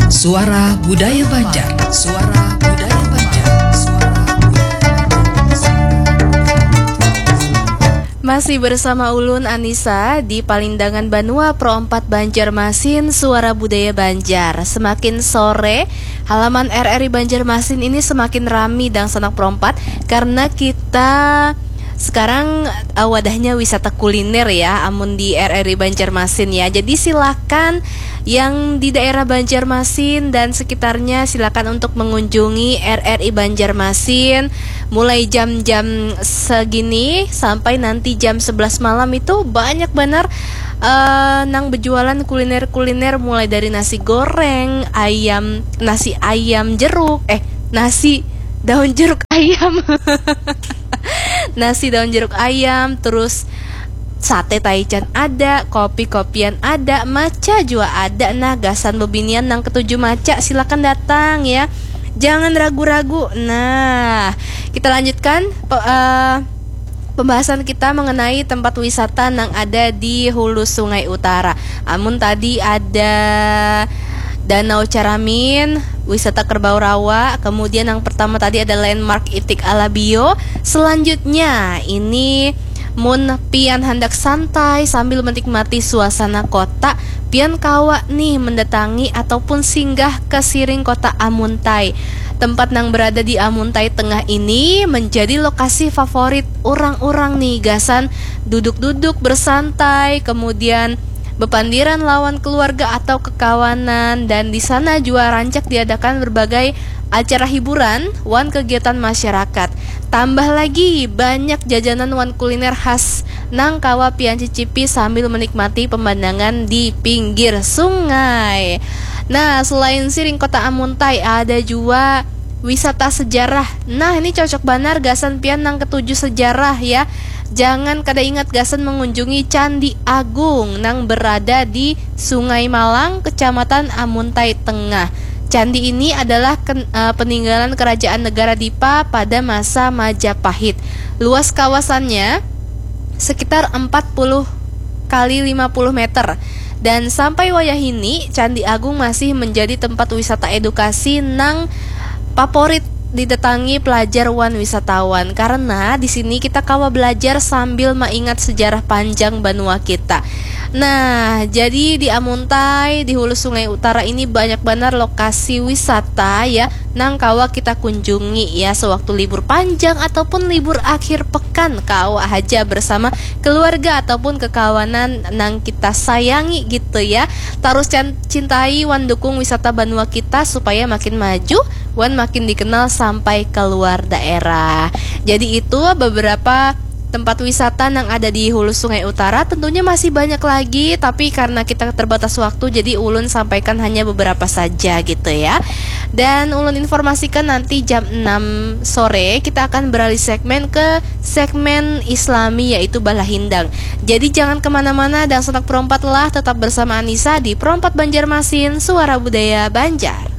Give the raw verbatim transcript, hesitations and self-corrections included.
Suara Budaya Banjar. Suara Budaya Banjar. Suara Budaya Banjar. Masih bersama ulun, Anisa, di Palindangan Banua, Pro empat Banjarmasin, Suara Budaya Banjar. Semakin sore, halaman R R I Banjarmasin ini semakin rami, dangsanak Pro empat, karena kita sekarang, eh, wadahnya wisata kuliner ya, amun di R R I Banjarmasin ya. Jadi silakan yang di daerah Banjarmasin dan sekitarnya, silakan untuk mengunjungi R R I Banjarmasin. Mulai jam-jam segini sampai nanti jam sebelas malam itu banyak banar, eh, nang bejualan kuliner-kuliner, mulai dari nasi goreng, ayam, nasi ayam jeruk, eh, nasi daun jeruk ayam. Nasi daun jeruk ayam, terus sate taichan ada, kopi-kopian ada, maca jua ada. Nah, gasan bebinian nang ketuju maca, silakan datang ya. Jangan ragu-ragu. Nah, kita lanjutkan pe-, eh, pembahasan kita mengenai tempat wisata nang ada di Hulu Sungai Utara. Amun tadi ada Danau Caramin, wisata Kerbau Rawa, kemudian yang pertama tadi ada landmark Itik Alabio. Selanjutnya, ini mun pian handak santai sambil menikmati suasana kota, pian kawa nih mendatangi ataupun singgah ke Siring Kota Amuntai. Tempat nang berada di Amuntai Tengah ini menjadi lokasi favorit orang-orang nih, gasan duduk-duduk bersantai, kemudian bepandiran lawan keluarga atau kekawanan, dan di sana jua rancak diadakan berbagai acara hiburan wan kegiatan masyarakat. Tambah lagi, banyak jajanan wan kuliner khas nang kawa pian cicipi sambil menikmati pemandangan di pinggir sungai. Nah, selain Siring Kota Amuntai, ada jua wisata sejarah. Nah, ini cocok banar gasan pian nang ketuju sejarah ya. Jangan kada ingat gasan mengunjungi Candi Agung nang berada di Sungai Malang, Kecamatan Amuntai Tengah. Candi ini adalah ken-, eh, peninggalan Kerajaan Negara Dipa pada masa Majapahit. Luas kawasannya sekitar empat puluh kali lima puluh meter. Dan sampai wayah ini, Candi Agung masih menjadi tempat wisata edukasi nang favorit didatangi pelajar wan wisatawan, karena di sini kita kawa belajar sambil maingat sejarah panjang banua kita. Nah, jadi di Amuntai, di Hulu Sungai Utara ini banyak banar lokasi wisata ya, nang kawa kita kunjungi ya sewaktu libur panjang ataupun libur akhir pekan, kawa haja bersama keluarga ataupun kekawanan nang kita sayangi gitu ya. Tarus can-, cintai wan dukung wisata banua kita supaya makin maju wan makin dikenal sampai keluar daerah. Jadi itu beberapa tempat wisata nang ada di Hulu Sungai Utara. Tentunya masih banyak lagi, tapi karena kita terbatas waktu, jadi ulun sampaikan hanya beberapa saja gitu ya. Dan ulun informasikan nanti jam enam sore kita akan beralih segmen ke segmen Islami, yaitu Balahindang. Jadi jangan kemana-mana, dangsanak Pro empat lah, tetap bersama Anisa di Pro empat Banjarmasin, Suara Budaya Banjar.